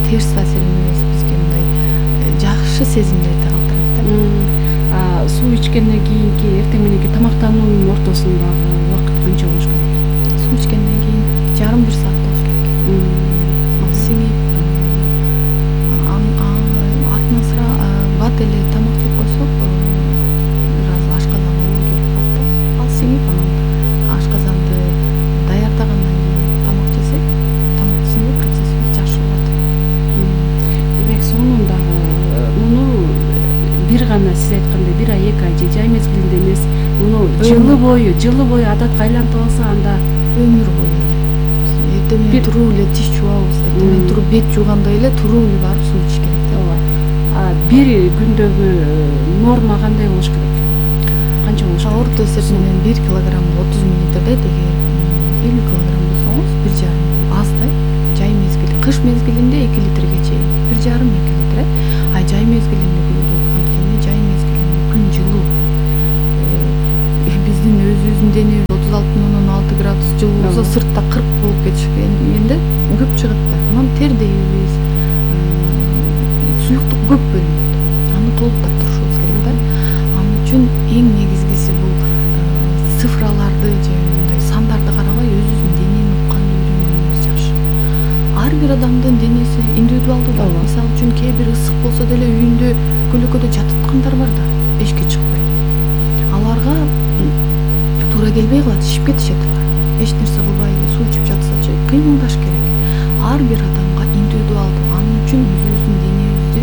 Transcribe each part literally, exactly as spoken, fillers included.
терс таасир эмес, бизге мындай жакшы сезимдерди калтырат да. Суу ичкенден кийинки эртең мененки тамактануунун ортосундагы убакыт канча болуш керек? Суу ичкенден кийин жарым бир саат болуш керек. Ал сиңип, артынан сыра бат эле тамак жеп койсок, бир аз ашказанга оо келип калат да. Ал сиңип, анан ашказанды даярдагандан кийин тамак жесек, тамак сиңүү процесси жакшы болот. Демек сонун дагы муну бир гана сиз айткандай бир ай, эки ай же жай мезгилинде эмес, муну жылы бою, жылы бою адатка айлантып алса, анда өмүр бою эле. Эртең менен туруп эле тиш жуабыз, эртең менен туруп бет жуугандай эле туруп эле барып суу ичиш керек да. А бир күндөгү норма кандай болуш керек? Канча болуш керек? Орто эсеп менен бир килограммга отуз миллилитр дейт. Эгер элүү килограмм болсоңуз бир жарым аз да. Жай мезгили, кыш мезгилинде эки литрге чейин, бир жарым эки литр. А жай мезгилинде көбүрөөк, анткени жай мезгилинде күн жылуу. Биздин өзүбүздүн денебиз отуз алты бүтүн ондон алты градус жылуу болсо, сыртта кырк болуп кетишкенде көп чыгат да. Анан тердейбиз, суюктук көп бөлүнөт. Аны толуктап турушубуз керек да. Ал үчүн эң негизгиси бул цифраларды же мындай сандарды карабай өзүбүздүн денени укканды үйрөнгөнүбүз жакшы. Ар бир адамдын денеси индивидуалдуу да. Мисалы үчүн кээ бир ысык болсо деле үйүндө көлөкөдө жататкандар бар да, эшикке чыкпай. Аларга туура келбей калат, ишип кетишет алар. Эч нерсе кылбай эле суу ичип жатсачы, кыймылдаш керек. Ар бир адамга индивидуалдуу. Анын үчүн өзүбүздүн денебизди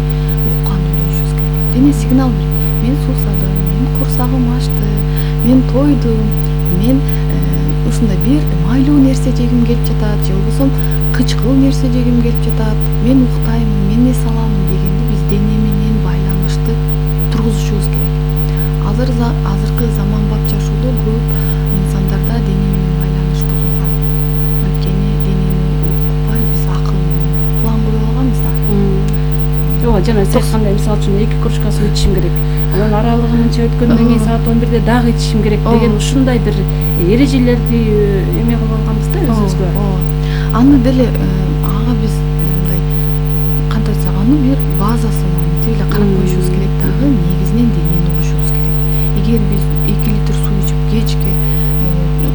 укканды үйрөнүшүбүз керек. Дене сигнал берет. Мен суусадым, мен курсагым ачты, мен тойдум, мен ушундай бир майлуу нерсе жегим келип жатат, же болбосо кычкыл нерсе жегим келип жатат, мен уктаймын, мен эс аламын дегенди биз дене менен байланышты тургузушубуз керек. Азыр азыркы заманбап жашоодо көп инсандарда дене менен байланыш бузулган. Анткени денени укпай биз акыл менен план коюп алганбыз да. Ооба, жана сиз айткандай, мисалы үчүн эки кружка суу ичишим керек. Анан аралыгы мынча өткөндөн кийин саат он бирде дагы ичишим керек деген ушундай бир эрежелерди эме кылып алганбыз да өзүбүзгө. Ооба. Аны деле ага биз мындай кантип айтсак, аны бир базасын мынтип эле карап коюшубуз керек дагы, негизинен денени угушубуз керек. Эгер биз эки литр суу ичип кечке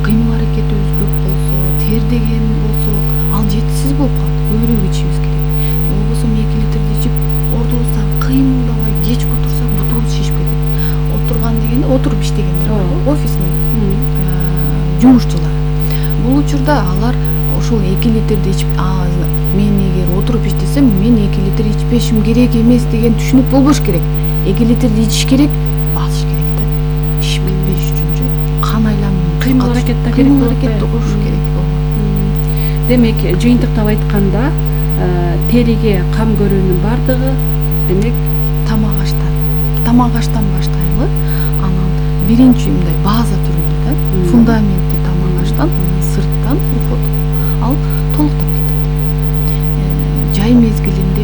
кыймыл аракетибиз көп болсо, тердеген болсок, ал жетишсиз болуп калат. Көбүрөөк ичишибиз керек. Же болбосо эки литрди ичип ордубуздан кыймылдабай кечке отурсак, бутубуз шишип кетет. Отурган дегенде отуруп иштегендер бар, офисный жумушчулар. Бул учурда алар ошол эки литрди ичип, мен эгер отуруп иштесем, мен эки литр ичпешим керек эмес деген түшүнүк болбош керек. эки литрди ичиш керек, басыш керек да. Ишип кетпеш үчүнчү кан айланмын, кыймыл аракетте кыймыл аракетти кылыш керек. Демек, жыйынтыктап айтканда, териге кам көрүүнүн бардыгы демек тамак аштан. Тамак аштан баштайлы. Анан биринчи мындай база түрүндө да, фундаменти тамак аштан, сырттан уход. Ал толуктап кетет. Жай мезгилинде